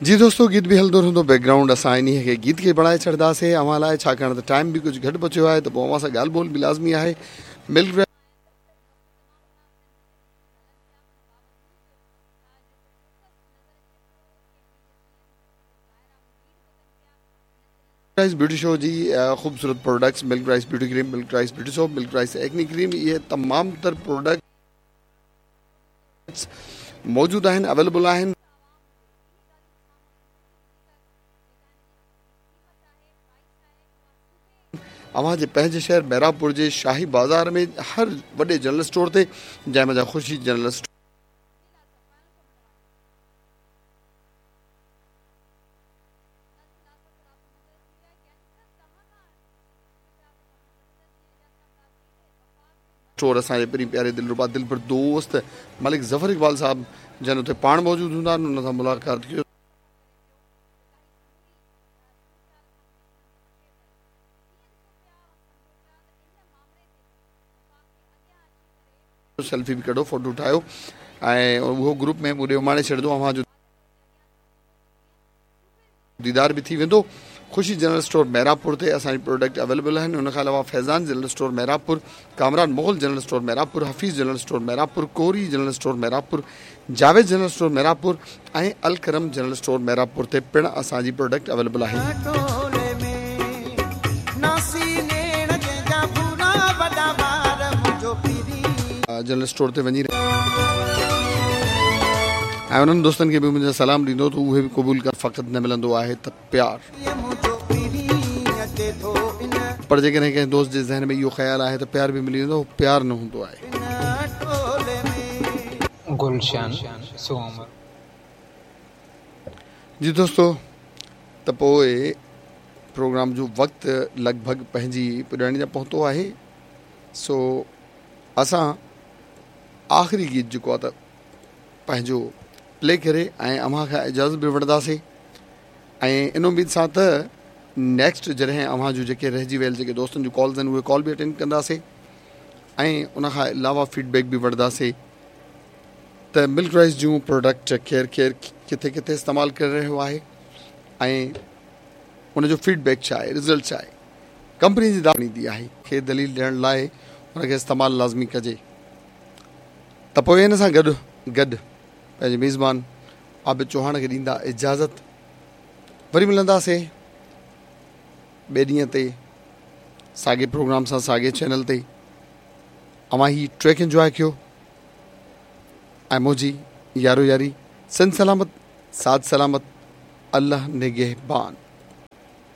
جي دوستو گيت به هلندو رهندو بيڪ گرائونڊ اسان انهي کي گيت کي بڻائي ڇڏنداسي اوهان لاء ڇاڪاڻ ته ٽائيم به ڪجهه گهٽ بچيو آهي ته پوء اوهان سان ڳالهه ٻولهه به لازمي آهي ملڪ رائس بيوٽي شو جي خوبصورت products milk rice beauty cream milk rice beauty soap milk rice acne cream اهي تمام تر پروڊڪٽس موجود آهن اويليبل آهن. اوهان جي پنهنجي شهر محرابپور جي شاهي بازار ۾ هر وڏي جنرل اسٽور تي جنهن منجهان خوشي جنرل اسٽور اسان جي پرين پياري دلربا دلبر دوست ملڪ ظفر اقبال صاحب جن اتي پاڻ موجود هوندا آهن ان سان ملاقات ڪيو. سيلفي به ڪڍو فوٽو ٺاهيو ۽ اهو گروپ ۾ مون ڏي اماڻي ڇڏندو اوهان جو ديدار به ٿي ويندو. خوشي جنرل اسٽور محرابپور تي اسان جي پروڊڪٽ اويليبل آهن ان کان علاوه Faizan general store Mehrabpur, Kamran Mughal general store Mehrabpur, Hafeez general store Mehrabpur, Kori general store Mehrabpur, Javed general store Mehrabpur ۽ Alkaram general store Mehrabpur تي پڻ اسان جي پروڊڪٽ اويليبل آهي. جنرل اسٽور تي وڃي ۽ انهن دوستن کي به منهنجا سلام ڏيندو ته اهي به قبول ڪن فقط نه ملندو آهي ته پيار. پر جيڪڏهن ڪنهن دوست جي ذهن ۾ اهو خيال آهي ته پيار به ملي ويندو اهو پيار نه هوندو آهي. گلشن سومرو. جي دوستو ته پوء پروگرام جو وقت لڳ ڀڳ پنهنجي پڄاڻي تي پهتو آهي سو اسان آخري گيت جيڪو آهي ته پنهنجو پلي ڪري ۽ اوهان کان اجازت به وٺنداسين ۽ ان اميد سان ته نيڪسٽ جڏهن اوهان جون جيڪي رهجي ويل جيڪي دوستن جون ڪالز آهن اهي ڪال به اٽينڊ ڪنداسين ۽ ان کان علاوه فيڊ بيڪ به وٺنداسين ته ملڪ رائس جون پروڊڪٽ ڪير ڪير ڪٿي ڪٿي استعمال ڪري رهيو آهي ۽ ان جو فيڊ بيڪ ڇا آهي رزلٽ ڇا آهي ڪمپني جي دعويٰ آهي کي دليل ڏيڻ لاء ان کي استعمال لازمي ڪجي ته پوء ان سان گڏ گڏ پنهنجي ميزبان عابد چوهاڻ کي ڏيندا اجازت وري ملنداسين ٻئي ڏينهن تي ساڳي پروگرام سان ساڳي چينل تي اوهان هي ٽريڪ انجواء ڪيو ۽ منهنجي يارو ياري سنڌ سلامت ساٿ سلامت الله نگهبان.